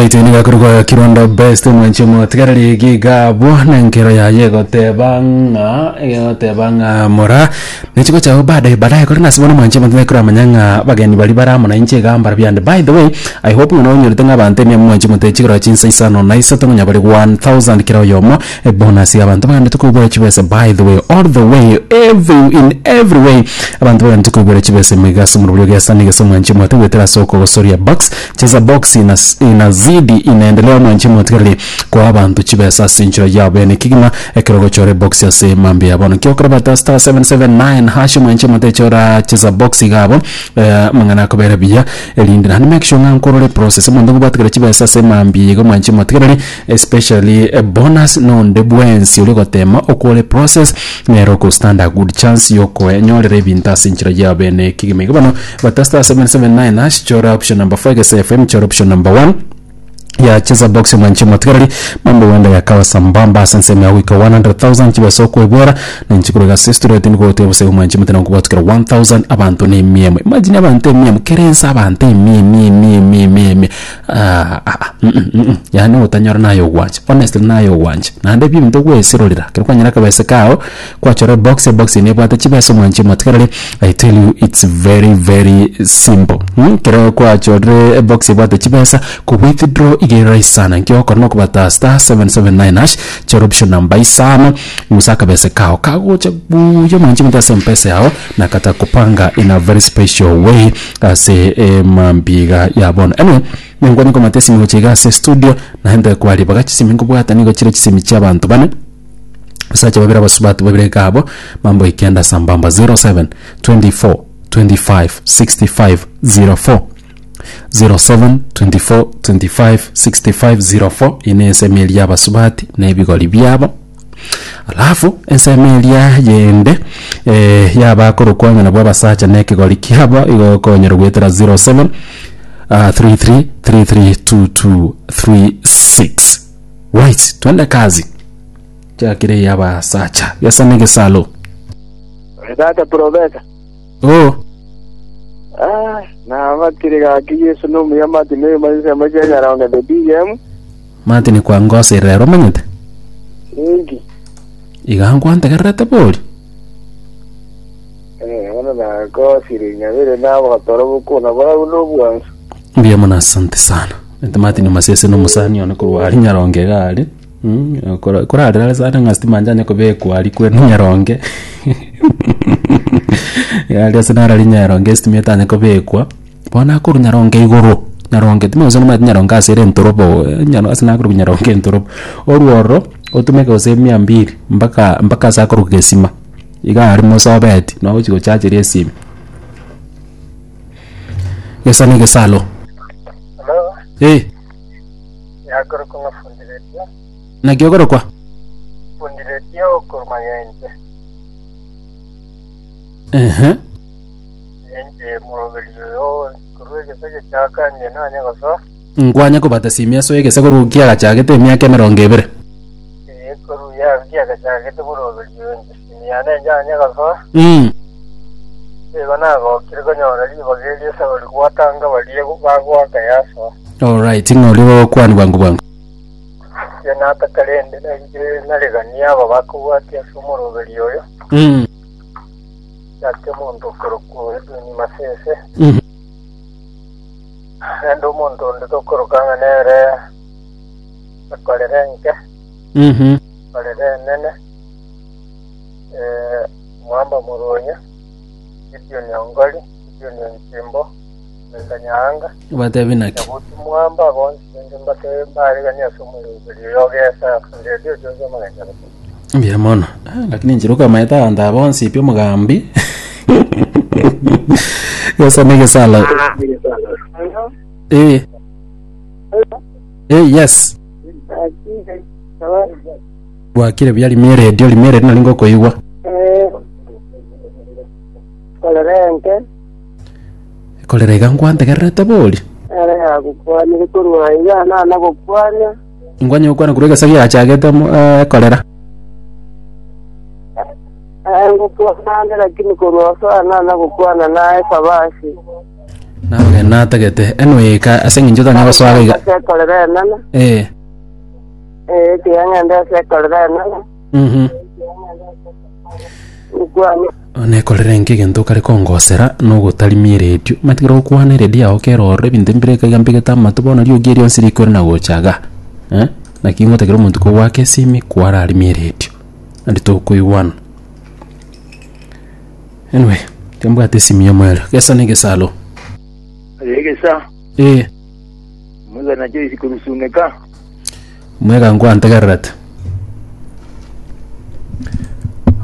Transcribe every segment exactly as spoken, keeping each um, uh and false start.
Alright, niga kuruga Kirondo Best mwanche motigareri gigabwo nenkero yaye goteba ng'a egoteba ng'a mora nechiko chao baadaye baadaye kore nasi bono mwanche motigareri kuramanya ng'a bageni bari baramo na inche gambara byande. By the way, I hope ng'a nonyorete ng'a abanto emia mwanche mote chikoro chinsa isano na isato ng'a bari one thousand kira oyomo e bonus ya abantu bagende tukubura chibesa. By the way, all the way, every in every way, abantu bagende tukubura chibesa migasa mu buryo gesa nigesa mwanche mote gwetera soko gosoria box, cheza box ina, inazidi inaendelea mwanche motigareri kwa abantu chibesa ase enchera yabo ene kigima ekero gochora box ase mambi yabo kyokora bata star seven seven nine hash mwanche mote chora cheza box gabo eh, mang'ana akobera buya erinde naende make sure ng'a nkorore process omonto ngobwatigera chibesa ase mambi igo mwanche motigareri, especially a bonus nonde bwensi ori gotema okore process nero okostand a good chance yokoenyorera ebinto ase enchera yabo ene kigima. Igo bono bata star seven seven nine hash, chora option number four gese F M, chora option number one ya cheza box mwanche motigareri, mambo wenda yakawa sambamba ase ensemo ya goika one hundred thousand chibesa okwebwera nenchikuru gase studio niko gote bose mwanche motena nkubwatukira one thousand abantu ni emiemo. Imagine abantu emiemo kerensa abantu emia emia emia emia emia emia. Ah, ah, ah, mm, mm, mm. Yani otanyora nayo ogwancha, honestly nayo ogwancha naende ebinto gwesirorera kero kwanyora akabese kao kwachora box, box nebwate chibesa mwanche motigareri. I tell you, it's very very simple, hmm? Kero kwachorire box ebwate chibesa ku withdraw igere rahisi sana nkiokora nokobata star seven seven nine hash, chora option number isano ngusa akabese kao kagocha buya mwanche mote ase Mpesa yao na kata kupanga in a very special way ase emambiga ya bono. Anyway, nengwani komata esimi gocha iga ase studio naende kwari baga chisimi nkobwata nigo chire chisimi chia abanto bane, basacha babere, abasubati babere gabo, mambo ikenda sambamba. zero seven twenty-four twenty-five sixty-five zero four, zero seven twenty-four twenty-five sixty-five zero four. Ine ensemo eria abasubati na ebigori biabo, alafu ensemo eria yende eh, yabakorokwa nabwo abasacha na ekegori kiabo igokonyera gwetera zero seven uh, thirty-three thirty-three twenty-two thirty-six. Right, twende kazi chakire yabasacha gesa negesalo. Tata Profesa. Oh. Ah, na batire gaki Yesu no muyamati ne mazise machenya the D M. Martin kwangose rero omanyete. Ingi. Iga nkwantegererete bori. Eh, ona na ko siri nyabere na bakatoro bukuna bora buno bwanso. Mbuya mono, asante sana. Ente Martin Masese nomusani one korwa ari Nyaronge gari. Mm, korarera sana ng'a stima njanye kobekwa ari kwenu Nyaronge gari ase narari Nyaronge estima etanye kobekwa bono akorwa Nyaronge igoro Nyaronge timogose nomanyete Nyaronge ase ere entorobo nyaro ase nakorwa Nyaronge entorobo orwororo otumeke gose mia mbili mpaka mpaka ase akorwa gesima iga ari mosobeti nogochi gochacheria esimi gesa na egesalo. Hello. Eh. Yakoro ko fundi radio. Naki okorokwa? Fundi radio korma yenje. Ehe. Yenje murobeli yo kurwege sege chakanye nanya goso. Nkwanya kobata simia so egese korukia gachagete emiaka emerongo ebere. Eh, koru ya kia gachagete murobeli yo nje simia ne njanya goso. mm. Ego nagokire konyora ribaga sabari gwatanga barie bagwaka yaso. Alright, ng'ori gokwani bwangu bwangu. Ye natakarende nanje naregania aba bakubwatia ase omoroberi oyo. mm. Yake omonto okorokwa Edwin Masese. mm. Ende omonto onde tokorokanga nere ekorere nke. mm Ekorere enene eh, Mwamba Muronya, Gideon Ongoli, Gideon Nchimbo, Mekanyanga. Batebi naki? Nyabuti Mwamba bonsi nje mbate mbaregania ase omoroberi oyo ogesa redio jozo maganya. Mbuya mono. Ah, lakini nchiruka maeta abanto aba bonsi pi omogambi gesa negesalo. Eh, eh, yes, bwakire buya. Rimia redio, rimia redio nari ngokoigwa. Korere nke. Korera iga nkwantegererete bori. Ere yagukwanire korwa iga nana gukwania. Nkwanya gokwana korwa egesa giachagete ekorera. Ngukwana lakini korwa so nana gukwana naye sabasi. Nabageni natagete anyway ka ase eng'encho tanya gosoaga iga. Ase ekorera enene. Eh. Eh, tiga ng'ende ase ekorera enene. Mhm. Nkwane. Nekorere enki egento okare kongosera nogotarimia eredio matigere gokwana eredio yao kera ororo ebinto mbire iga mbegete amato bono riogi erio onsi rikore na gocha iga eh, naki ngotakera omonto kogoaka esimi kwararimia eredio naende tokoigwana. Anyway, tiga mbwate esimi yomoerio, gesa na egesalo. Aye egesa, Eh, Musa na Joyce korusumeka. Mwega nkwantegererete.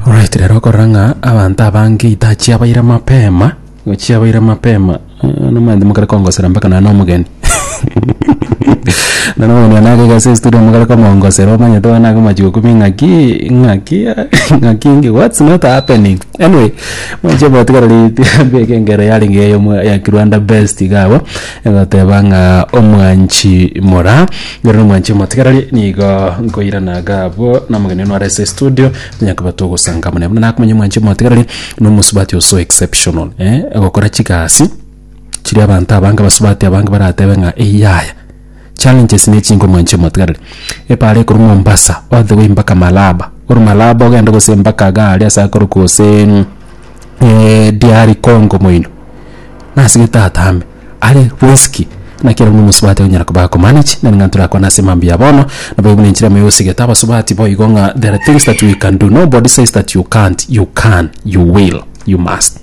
Alright, rero okorora ng'a abanto abange ita chiabaire mapema, igo chiabaire mapema, eh, nomanyete mokare kongosera mpaka nonye na omogeni. Nonye na omogeni one agaiga ase estudio mokare komongosera omanyete bono akomachi gokumia ng'aki, ng'aki, ng'aki inki, what's not happening? Anyway, mwanche motigareri mbeke engero yarenge eyomo ya Kirwanda Best iga abwo, egoteba ng'a omwanchi mora, ere nomwanchi omotigareri nigo nkoirana iga abwo na omogeni one ore ase estudio, tonya koba togosanga amo nere. Buna nakomanya omwanchi omotigareri, na omosubati oso exceptional eh, ogokora chigasi chiria abanto abange abasubati abange baratebe ng'a eyio yaya. Challenges ne chinke omwanchi omotigareri, epara ekorwa Mombasa all the way mpaka Malaba, korwa Malaba ogende gose mpaka iga aria ase akorokwa gose D R Congo moino, nasegete atambe, are risky, naki ere buna omosubati okonyara koba akomanage, naende ng'a torakwane ase mambia ya bono, nabo buna enchera emo yosigete abasubati boigo ng'a there are things that we can do, nobody says that you can't, you can, you will, you must.